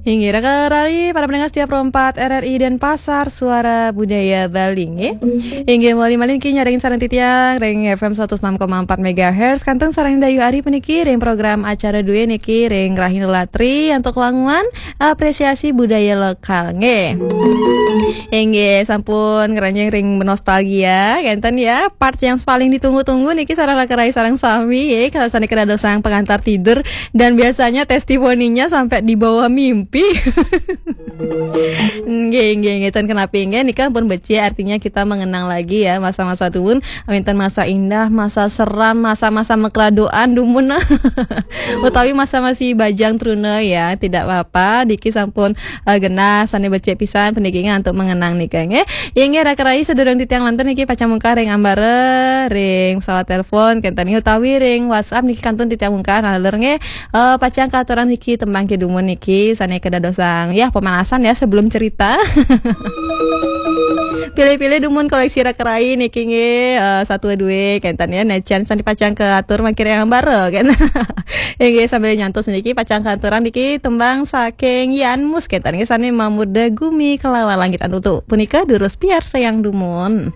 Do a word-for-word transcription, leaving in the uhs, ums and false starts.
Inggih, raka rari, para pendengar setia Pro empat R R I Denpasar, Suara Budaya Bali, nggih. Inggih, malih-malih niki nyarengin sareng titiang ring F M seratus enam koma empat megahertz, kantun sareng Dayu Ari puniki ring program acara duwe niki ring Rahina Latri antuk wangunan apresiasi budaya lokal, nggih. Inggih, sampun ngranjing ring nostalgia, kenten ya, part yang paling ditunggu-tunggu niki sareng raka rari sareng sami, ya, kalau sane kena dosang pengantar tidur, dan biasanya testimoninya sampai dibawa mimpi. Nggih, nggih, nggih, ten kenapi, nggih, nika pun becik, artinya kita mengenang lagi ya masa-masa dumun, wenten masa indah, masa seram, masa-masa mekradoan dumun. Utawi masa masih bajang truna ya, tidak apa-apa, niki sampun eh, genah sane becik pisan puniki nggih antuk mengenang nika, nggih. Inggih, raka rari, sedurung titiang lantur niki pacang mungkah ring ambara, ring pesawat telepon, kenten nggih, utawi ring WhatsApp niki kantun titiang mungkah, nalur nggih. Eh, pacang katurang niki tembang kedumun niki sane kedadosang ya pemanasan ya sebelum cerita. Pilih-pilih dumun koleksi raka rari niki nggih, eh, satu dua kenten ya, najan sane pacang katur mangkin ring ambara, kenten. Inggih, sambil nyantos niki pacang katurang niki tembang saking Yan Mus, kenten nggih, sane Mamurda Gumi Kelawan Langit. Antuk punika durus piarsayang dumun.